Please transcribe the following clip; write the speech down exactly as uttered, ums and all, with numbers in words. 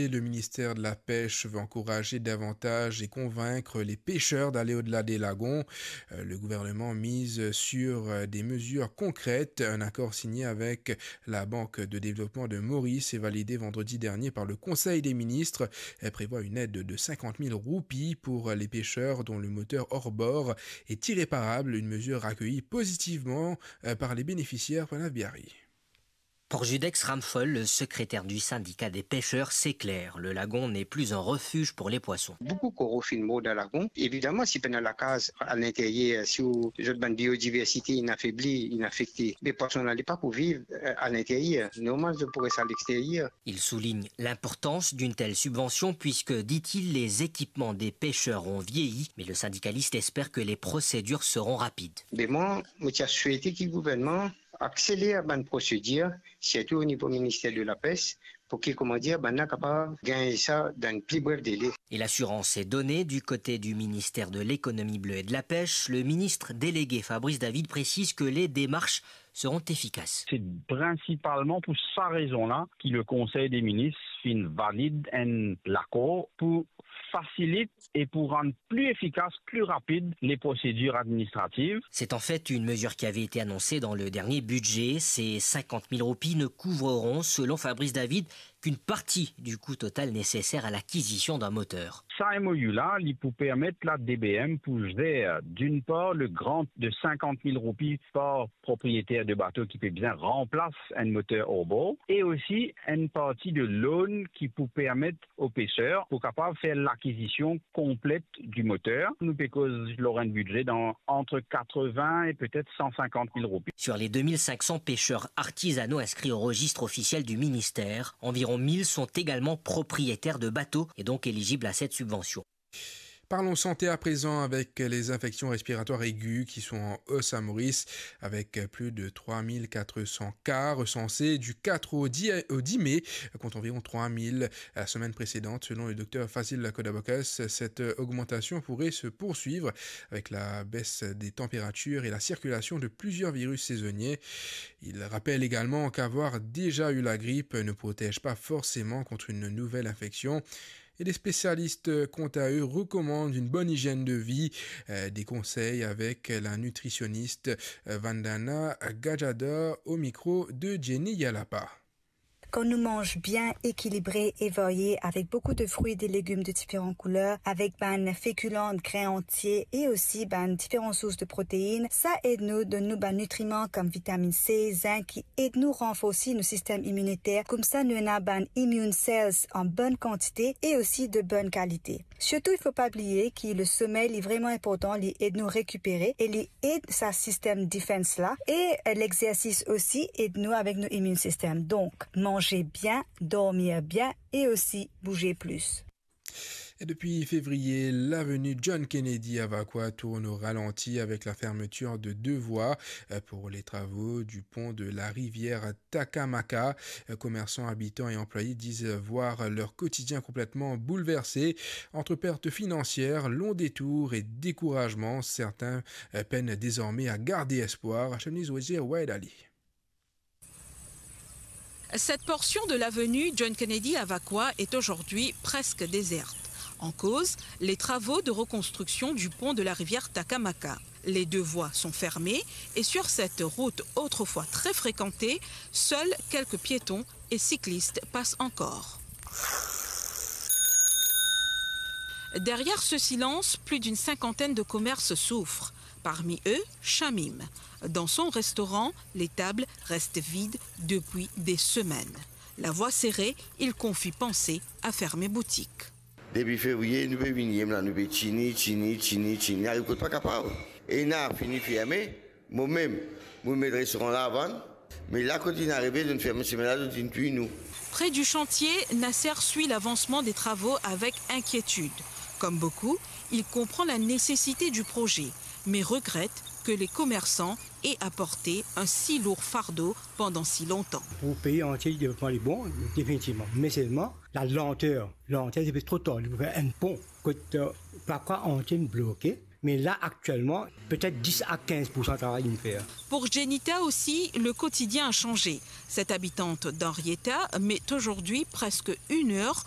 Le ministère de la Pêche veut encourager davantage et convaincre les pêcheurs d'aller au-delà des lagons. Euh, le gouvernement mise sur, euh, des mesures concrètes. Un accord signé avec la Banque de développement de Maurice et validé vendredi dernier par le Conseil des ministres, euh, prévoit une aide de cinquante mille roupies pour les pêcheurs dont le moteur hors-bord est irréparable. Une mesure accueillie positivement, euh, par les bénéficiaires. Pranav Biari. Pour Judex Ramphol, le secrétaire du syndicat des pêcheurs, c'est clair, le lagon n'est plus un refuge pour les poissons. Boukou koro finn mor dan lagon. Evidaman, si pena lakaz alinteryer, si ou, zot bann biodiversite inn afebli, inn afekte, be pwason la li pa pou viv, euh, alinteryer. Normal, zot pou res aleksteryer. Il souligne l'importance d'une telle subvention puisque, dit-il, les équipements des pêcheurs ont vieilli, mais le syndicaliste espère que les procédures seront rapides. Be mwa, mo ti a swete ki gouvernman akseler bann prosedir, sirtou o nivo Minister de la Pes, pou ki, kouma dir, bann la kapav gagn sa dan pli bref dele. Et l'assurance est donnée du côté du ministère de l'économie bleue et de la pêche. Le ministre délégué Fabrice David précise que les démarches seront efficaces. C'est principalement pour sa raison-là que le Conseil des ministres finn valid enn lakor pou fasilit e pou rann pli efikas, pli rapid les procédures administratives. C'est en fait une mesure qui avait été annoncée dans le dernier budget. Ces cinquante mille roupies ne couvreront, selon Fabrice David, qu'une partie du coût total nécessaire à l'acquisition d'un moteur. Sa M O U la, li pou permet la D B M pou zer, d'une part, le grant de cinquante mille roupies par propriétaire de bateau ki pe bizin ranplas enn moter hors-bord, e osi enn parti de loan ki pou permet o peser pou kapav fer lakizision konplet di moter. Nou pe koz lor enn bidze dan entre quatre-vingts et peut-être cent cinquante mille roupies. Sur les deux mille cinq cents pêcheurs artisanaux inscrits au registre officiel du ministère, environ mille sont également propriétaires de bateaux et donc éligibles à cette subvention. Parlons santé à présent avec les infections respiratoires aiguës qui sont en hausse à Maurice, avec plus de trois mille quatre cents cas recensés du quatre au dix, au dix mai, contre environ trois mille la semaine précédente, selon le docteur Fazil Kodabokas. Cette augmentation pourrait se poursuivre avec la baisse des températures et la circulation de plusieurs virus saisonniers. Il rappelle également qu'avoir déjà eu la grippe ne protège pas forcément contre une nouvelle infection. Et les spécialistes, quant à eux, recommandent une bonne hygiène de vie. Euh, des conseils avec la nutritionniste, euh, Vandana Gajadhar au micro de Jenny Yalapa. Kan nou manz bien, ekilibre e varye, avek boukou de frwi, de legim de diferan kouler, avek bann fekilan, grin antie e osi bann diferan sours de protein, sa ed nou donn nou bann nitriman kom vitamin C, zink, ki ed nou ranforsi nou sistem iminiter, koumsa nou ena bann immune cells an bonn kantite e osi de bonn kalite. Sirtou, il faut pas oublier ki le somey, li vreman inportan, li ed nou rekipere e li ed sa sistem defense la. E, euh, lexersis osi ed nou avek nou immune system. Donk, manze bien, dormir bien e osi bouze plis. Et depuis février, l'avenue John Kennedy à Vacoas tourne au ralenti avec la fermeture de deux voies, euh, pour les travaux du pont de la rivière Takamaka. Euh, commerçants, habitants et employés disent voir leur quotidien complètement bouleversé. Entre pertes financières, longs détours et découragement, certains, euh, peinent désormais à garder espoir. Chemise Wazir, Wahed Ali. Cette portion de l'avenue John Kennedy à Vacoas est aujourd'hui presque déserte. En cause, les travaux de reconstruction du pont de la rivière Takamaka. Les deux voies sont fermées et sur cette route autrefois très fréquentée, seuls quelques piétons et cyclistes passent encore. Derrière ce silence, plus d'une cinquantaine de commerces souffrent. Parmi eux, Shamim. Dans son restaurant, les tables restent vides depuis des semaines. La voix serrée, il confie penser à fermer boutique. Depi fevriye, nou pe vini, la, nou pe tini, tini, tini, tini, ariv kot pa kapav. E ena fini ferme, mo mem, mo met restoran la vann, me la kot inn arive, zot inn ferme semenn la, zot inn touy nou. Près du chantier, Nasser suit l'avancement des travaux avec inquiétude. Comme beaucoup, il comprend la nécessité du projet, mais regrette que les commerçants aient à porter un si lourd fardeau pendant si longtemps. Pou pei antie, devlopman li bon, definitivman. Me selman, la lanter, lanter, se pe tro tar, li pou fer enn pon. Kot, euh, Vacoas antie inn bloke, Mais là, actuellement, peut-être dix à quinze pour cent de travail à faire. Pour Jenita aussi, le quotidien a changé. Cette habitante d'Henrietta met aujourd'hui presque une heure